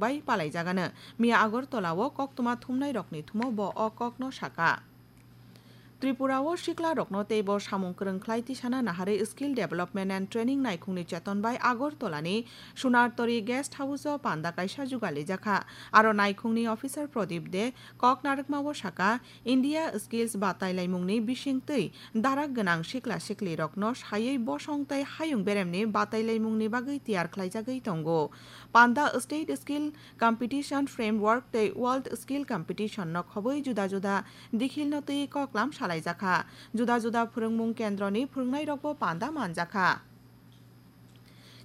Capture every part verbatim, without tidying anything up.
bai palaijagano. Miya Agartala o koktwma thumnairokni thumo bo o kokno saka. Tripura o siklarokno teibo samung kwrwng khlai tisana naharwi Skill Development and Training naikhungni cheton bai Agartala ni Sunartori Guest House o panda kaisa jugalijakha. Aro naikhungni officer Pradip De kok narwkma o saka, India Skills batailaimungni bisingtwi darak gwnang sikla siklirokno saywi bosong tei hayung beremni batailaimungni bagwi tiyar khlaijagwi tongo. Panda State Skill Competition Framework tei World Skill Competition no khobwi juda juda dikhilno twi koklam salaijakha. Juda juda phwrwngmung kendroni phwrwngnairokbo panda manjakha.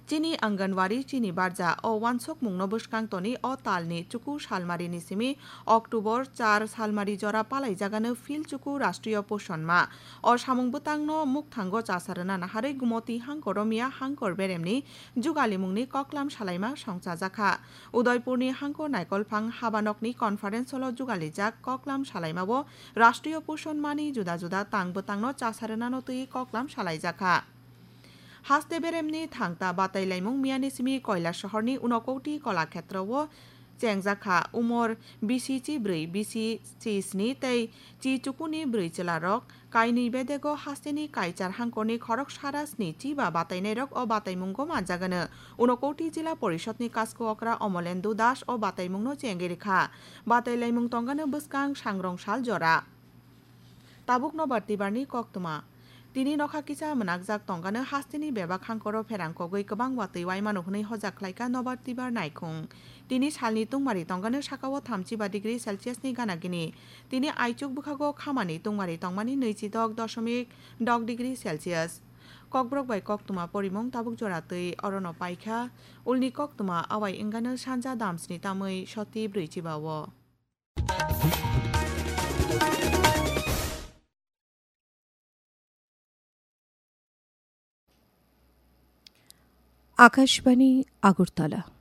Chini Anganwadi, chini barja o wansukmungno bwskang toni o talni chuku salmarini simi October char salmari jora palaijagano Phil Chuku Rashtriya Poshan Ma. O samung bwtangno mukthango chasa rwna naharwi Gumoti Hangkor Romia Hangkor Beremni jugalimungni koklam salaima songchajakha. Udaipurni Hangkor Naikolphang habanokni conference hall o jugalijak koklam salaimao Rashtriya Poshan Mani juda juda tang bwtangno chasa rwnano twi koklam salaijakha. Haste beremni thangta batailaimung miyani simi Koilasohorni Unakoti Kolakhetra o chengjakha. Umor bisi chi brwi, bisi chi sni tei chi chukuni brwi chwlarok kainwi bedego hasteni Kaichar Hangkorni khorok sara sni chi ba batainairok o bataimungo manjagano. Unakoti Jila Porishodni Kasku Okra Omolendu Das o bataimungno chengwi rwkha. Batailaimung tongano bwskang sangrong sal jora. Tabuk nobar tibarni koktwma. Tini nokha kisa mwnakjak tongkano hasteni bebak hangkoro pherang kogwi kwbang watwi waimano hwnwi hojak khlaikha nobar tibar naikhung. Tini salni tungmari tongkano sakao thamchiba degree Celsius ni gana gini. Tini aichuk bwkhago khamani tungmari tongmani nwichidok doshomik dok degree Celsius. Kokborok bai koktwma porimung tabuk jora twi orono paikha. Ulni koktwma awai wngkano sanja damsni tamwi soti brwi chiba o. Akashbani Agartala.